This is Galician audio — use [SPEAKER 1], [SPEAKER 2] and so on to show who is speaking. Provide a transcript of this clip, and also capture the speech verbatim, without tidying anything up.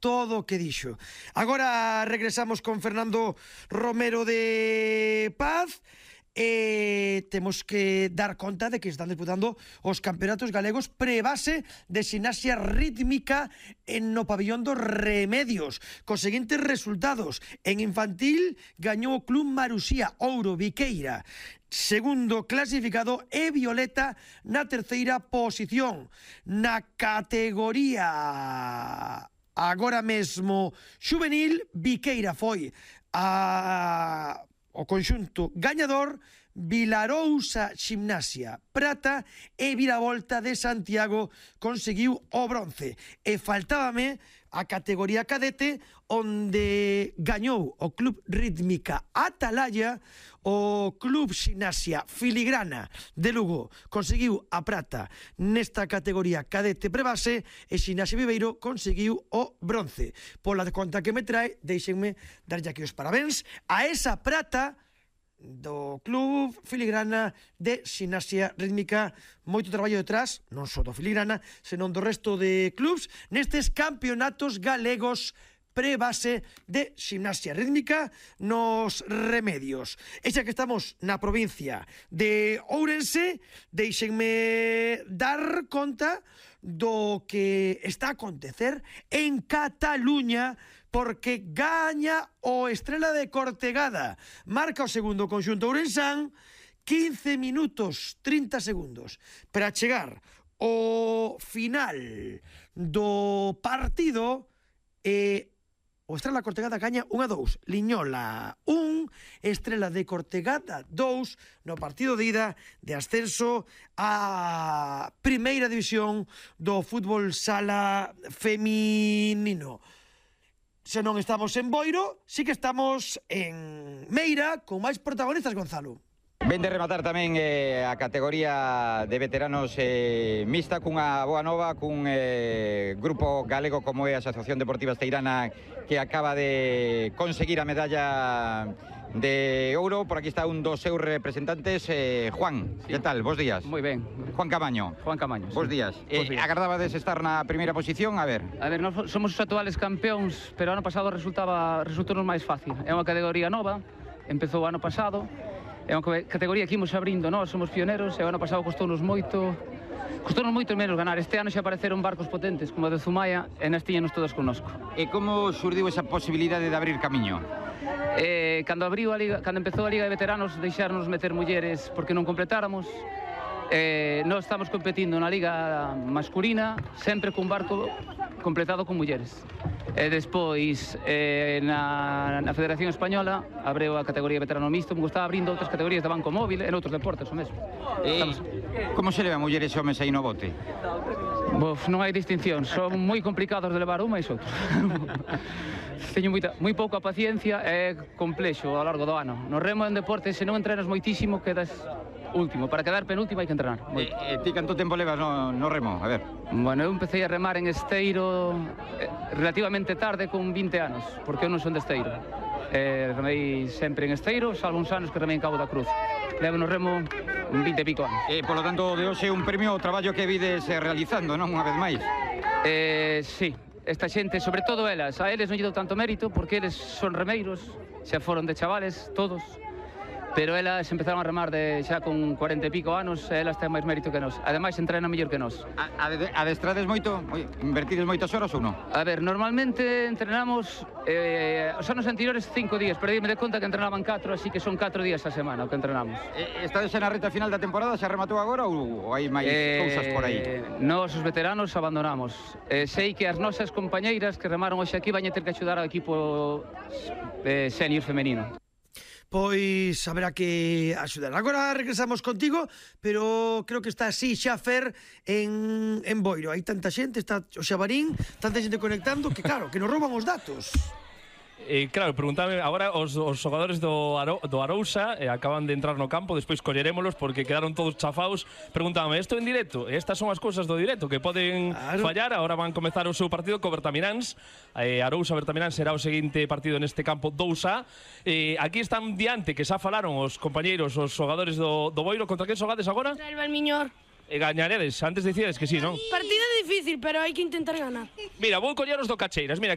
[SPEAKER 1] todo o que dixo. Agora regresamos con Fernando Romero de Paz e temos que dar conta de que están disputando os campeonatos galegos pre-base de ximnasia rítmica en no pabillón dos Remedios, cos seguintes resultados. En infantil gañou o Club Marusía Ouro Viqueira, segundo clasificado, e Violeta na terceira posición. Na categoría agora mesmo xuvenil, Viqueira foi a o conxunto gañador, Vilarousa Ximnasia prata e Viravolta de Santiago conseguiu o bronce. E faltábame a categoría cadete, onde gañou o Club Rítmica Atalaya, o Club Ximnasia Filigrana de Lugo conseguiu a prata nesta categoría cadete prebase e Ximnasia Viveiro conseguiu o bronce. Pola conta que me trae, deixenme darlle aquí os parabéns a esa prata do Club Filigrana de Ximnasia Rítmica. Moito traballo detrás, non só do Filigrana, senón do resto de clubs nestes campeonatos galegos pre-base de ximnasia rítmica nos Remedios. E xa que estamos na provincia de Ourense, deixenme dar conta do que está a acontecer en Cataluña, porque gaña o Estrela de Cortegada. Marca o segundo conxunto ourensán, quince minutos trinta segundos para chegar ao final do partido e o Estrela de Cortegada gaña un a dous. Liñola un, Estrela de Cortegada dous, no partido de ida de ascenso a primeira división do fútbol sala feminino. Se non estamos en Boiro, sí que estamos en Meira, con máis protagonistas, Gonzalo.
[SPEAKER 2] Ven de rematar tamén eh, a categoría de veteranos eh, mixta cunha boa nova, cun eh, grupo galego como é a Asociación Deportiva Esteirana, que acaba de conseguir a medalla de ouro. Por aquí está un dos seus representantes, eh, Juan. Sí. Que tal? Bos días.
[SPEAKER 3] Moi ben.
[SPEAKER 2] Juan Camaño.
[SPEAKER 3] Juan Camaño.
[SPEAKER 2] Bos
[SPEAKER 3] sí.
[SPEAKER 2] días.
[SPEAKER 3] Eh,
[SPEAKER 2] días. Agardabades estar na primeira posición? A ver.
[SPEAKER 3] A ver, nós somos os actuales campeóns, pero ano pasado resultaba resultou máis fácil. É unha categoría nova, empezou o ano pasado. É unha categoría que imos abrindo, nós somos pioneros, e o ano pasado costounos moito, costounos moito menos ganar. Este ano xa apareceron barcos potentes como o de Zumaia e nas tiñanos todos connosco.
[SPEAKER 2] E como surdiu esa posibilidade de abrir camiño?
[SPEAKER 3] Eh, cando abriu a liga, cando empezou a Liga de Veteranos, deixárnos meter mulleres porque non completáramos. Eh, nós estamos competindo na liga masculina sempre cun barco completado con mulleres. E despois eh, na, na Federación Española abreu a categoría veterano mixto, me gustaba abrindo outras categorías de banco móvil e noutros deportes o mesmo.
[SPEAKER 2] E Estamos... como se leva mulleres e homes aí no bote?
[SPEAKER 3] Bof, non hai distinción, son moi complicados de levar un máis outro. Teño moita, moi pouca paciencia e complexo ao largo do ano. No remo en deporte, se non entrenas moitísimo, quedas último. Para quedar penúltimo hai que entrenar.
[SPEAKER 2] E, e ti canto tempo levas no, no remo? A ver.
[SPEAKER 3] Bueno, eu empecé a remar en esteiro eh, relativamente tarde, con vinte anos, porque eu non son de esteiro. Eh, remei sempre en esteiro, salvo uns anos que remei en Cabo da Cruz. Levo no remo vinte e pico anos.
[SPEAKER 2] E, polo tanto, de hoxe un premio ao traballo que vides eh, realizando, non? Unha vez máis.
[SPEAKER 3] Eh, sí, esta xente, sobre todo elas, a eles non lle dou tanto mérito, porque eles son remeiros, xa foron de chavales, todos. Pero elas empezaron a remar de xa con cuarenta e pico anos, e elas ten máis mérito que nós. Ademais, entrenan mellor que nós.
[SPEAKER 2] Adestrades moito? Invertides moitas horas ou non?
[SPEAKER 3] A ver, normalmente entrenamos eh, os anos anteriores cinco días, pero dime de conta que entrenaban catro, así que son catro días a semana o que entrenamos.
[SPEAKER 2] Eh, estades xa na reta final da temporada? Xa rematou agora ou, ou hai máis eh, cousas por aí?
[SPEAKER 3] Nós, os veteranos, abandonamos. Eh, sei que as nosas compañeiras que remaron hoxe aquí van a ter que axudar ao equipo eh, senior femenino.
[SPEAKER 1] Pois haberá que axudar. Agora regresamos contigo, pero creo que está así xa Fer en, en Boiro. Hai tanta xente, está o Xabarín, tanta xente conectando, que claro, que nos rouban os datos.
[SPEAKER 4] Eh, claro, preguntame, agora os, os xogadores do, Aro, do Arousa eh, acaban de entrar no campo, despois collerémolos porque quedaron todos chafados. Preguntábame, isto en directo? Estas son as cousas do directo que poden claro. fallar. Agora van comezar o seu partido co Bertamiráns. eh, Arousa Bertamiráns será o seguinte partido neste campo dous A. eh, Aquí están diante, que xa falaron os compañeiros, os xogadores do, do Boiro. Contra que xogades agora?
[SPEAKER 5] Contra el Valmiñor.
[SPEAKER 4] E gañaredes, antes dicides que sí, non?
[SPEAKER 5] Partido difícil, pero hai que intentar ganar.
[SPEAKER 4] Mira, vou coller os do Cacheiras. Mira,